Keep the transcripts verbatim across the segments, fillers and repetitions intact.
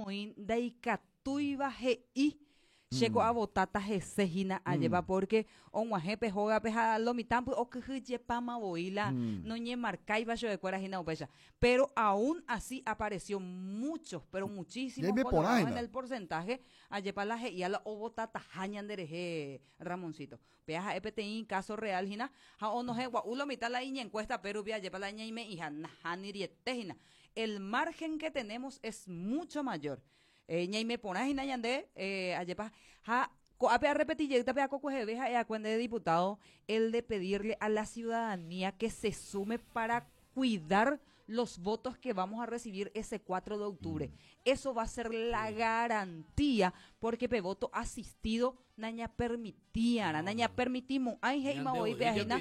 Oĩ ndaikatúiva he'i chéko avotata hese hína ajépa porque og̃uahẽpe hógape ha lo mitãpy okyhyjepáma voi la noñemarcáiva chupekuéra hína upéicha, pero aún así apareció muchos, pero muchísimos colorados en el porcentaje ajépa la he'ía la ovotataha ñanderehe, Ramoncito. Péa ha'e peteĩ caso real hína ha onohẽ gua'u lo mitã la iñencuesta pérupi ajépa la ñaime'iha nahániriete hína. El margen que tenemos es mucho mayor. eh, ñaime porã hína ñande eh, ajépa ha ko'ápe arrepeti jeýta pe akokueheve ha'e de diputado el de pedirle a la ciudadanía que se sume para cuidar los votos que vamos a recibir ese cuatro de octubre. Eso va a ser la garantía, porque pe voto asistido naña permitía, naña permitimos, ay he'íma voi pe ajena.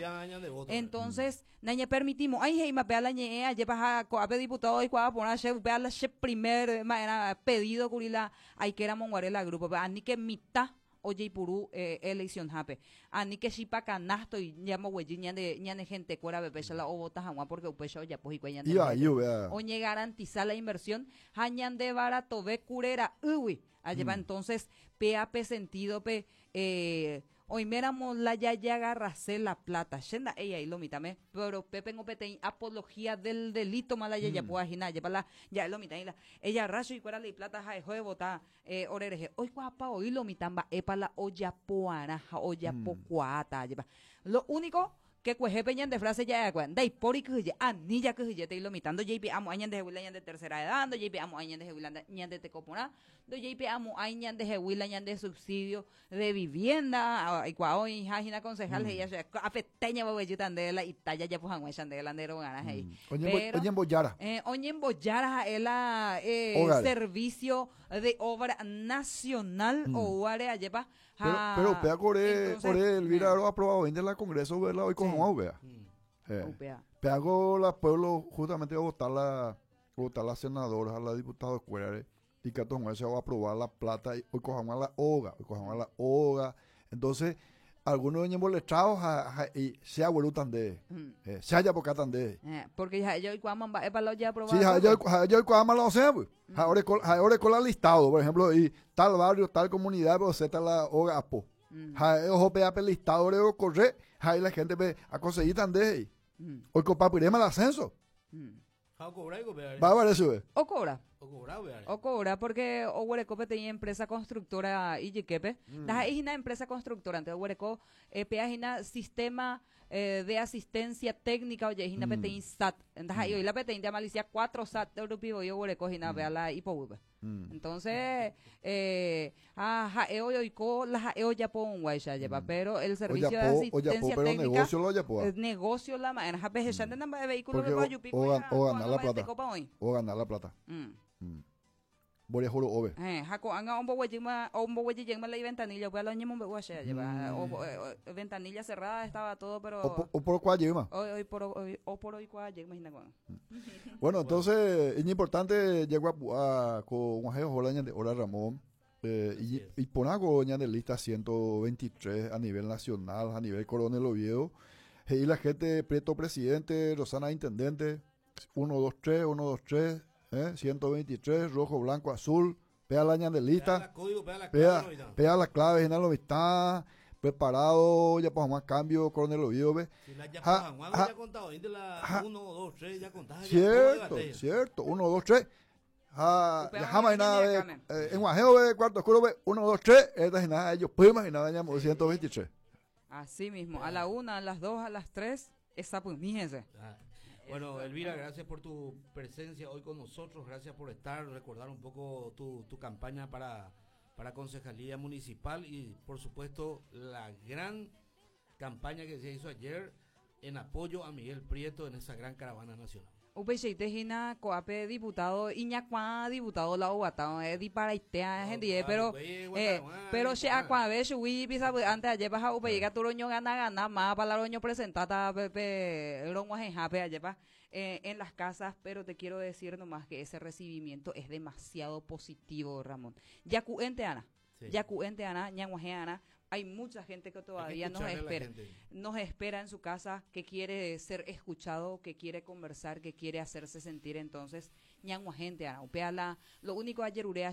Entonces, naña permitimos, ay he'íma pe a la ñe'ẽ ajépa ha ko'ápe diputado oikuaa porã che upe a la che primer era pedido kuri la aikéramo guare la grupo, ani que mitã ojeipuru eh, elección hápe. Ani que chipa canasto y ñamboguejy ñande ñane gente kuéra péicha la ovota hag̃ua porque upéicha ojapo hikuái ñande. Iba ahí, vea. Oñegarantiza la inversión ha ñande baratove kurera'ýgui. Ajépa entonces pe pe sentido pe eh, oiméramo la jajagarrase la plata che nda'éi ahí lo mitãme, pero pépengo peteĩ apología del delito ma la jajapo hína ajépa la ja'e lo mitã la ejarra chuikuéra la iplata ha'eho evota eh, orerehe oikuaapa oi lo mitã mba'épa la ojapoarã ha ojapokuaáta ajépa. Lo único que kuehépe ñande frase ja'eakue ndaipóri kyhyje ani jakyhyjétei lo mitã ndojeipe'amo'ãi ñandehegui la ñande tercera edad, ndojeipe'amo'ãi ñandehegui la ñande teko porã, ndojeipe'amo'ãi ñandehegui la ñande subsidio de vivienda aikuaa oĩha hína concejal he'i che apete ñamboguejýta nde la ita jajapo hag̃uáicha nde la nde rogarã he'i. Oñembo- oñembojára. Eh, oñembojára ha'e la eh, Ógare. Servicio de Obra Nacional mm. ouare ajépa. Pero, pero upéva ore, entonces, ore Elvira eh, ro aprobado de la Congreso verla hoy con Sí. Juan, vea. Eh. Upéva. Pe la pueblo justamente a votar la votar la senadora, a la diputada kuérare y que se va a aprobar la plata y hoy cojamos la hoga, hoy cojamos la hoga. Entonces, algunos ñemboletrados y se abuelo de Mm. eh, se haya poca de Eh, porque ya ellos oikuaáma mba'épa la ojeaprobado. Sí, ja, yo ja, yo oikuaáma la osea, pues. Ja, ore ja, ore la listado, por ejemplo, y tal barrio, tal comunidad, pues, está la hoga apo. Mm. Ja, ojo pe ape listado ore corre, ja, y la gente pe a conseguir tan de Mm. hoy copa el ascenso. Mm. Ja, cobra y cobra. Va a ver eso, O cobra. O cobra, vea. O cobra porque oguereko peteĩ empresa constructora ijyképe. Mm. Ndaha'éi hína empresa constructora, ante oguereko eh, péa hína sistema eh, de asistencia técnica oje'ehína mm. peteĩ S A T. Ndaha'éi la peteĩ de malicia cuatro S A T rupi voi oguereko hína mm. la ipoguýpe. Mm. Entonces, eh, ah, ha'e oiko la ha'e ojapo jepa, mm. pero el servicio Ojapo, de asistencia ojapo, pero técnica negocio lo ojapo. eh, negocio la ma'erã ha pehechánte mba'e vehículo Porque pe o, ojupi o, gan- o ganar la plata. tekopa oĩ. O ganar la plata. Mm. Mm. Mboriahu ro'ópe. Eh, ha ko'ág̃a omboguejýma omboguejyjeýma la ventanilla, upéva la oñemombe'u che jepa. Mm. O, eh, o, ventanilla cerrada estaba todo, pero O, o por cuál jeýma. hoy hoy por hoy o por hoy jeýma hína ko'ág̃a. Bueno, entonces, es importante llegó a con hola ñande hora Ramón. Eh, y, Así es. y por ñande lista ciento veintitrés a nivel nacional, a nivel Coronel Oviedo. Y la gente, Prieto presidente, Rosana intendente, uno, dos, tres, uno, dos, tres, eh, ciento veintitrés, rojo, blanco, azul. Pea la ñande Pega lista. la código, pega la Pea, clave, no, pea la clave, general lo está preparado, ya pues más cambio, Coronel Oviedo, ve. Si la ya Ja, Juan ja, ya contado, de la ja. uno, dos, tres, ya contaba. Cierto, cierto. uno, dos, tres. Ja, Upéva ya jamás oĩ nada ñande de, akãme. eh, en Guajeo de cuarto oscuro ve uno, dos, tres. Esta es nada, ellos pueden imaginar, dañamos ciento veintitrés. Así mismo, a la una, a las dos, a las tres, esa pues, míjense. Ah, bueno, Elvira, gracias por tu presencia hoy con nosotros, gracias por estar, recordar un poco tu, tu campaña para, para concejalía municipal y, por supuesto, la gran campaña que se hizo ayer en apoyo a Miguel Prieto en esa gran caravana nacional. Upeichaite hína ko'ápe diputado iñakuã diputado la oguata eh, diparaitea hendive No, pero upéi eh, guatarugua, pero che iporã. Akuave chugui sapy'ánte ajépa ha upéi katu roño gana gana mápa la roño presentata pe pe rog̃uahẽhápe ajépa eh, en las casas, pero te quiero decir nomás que ese recibimiento es demasiado positivo, Ramón. Jaku'énte Ana. Sí. Jaku'énte Ana, ñag̃uahẽ Ana. Hay mucha gente que Hay que todavía nos escucharle a la espera gente. Nos espera en su casa, que quiere ser escuchado, que quiere conversar, que quiere hacerse sentir. Entonces, ñag̃uahẽnte Ana. Upéa la, lo único ajerurea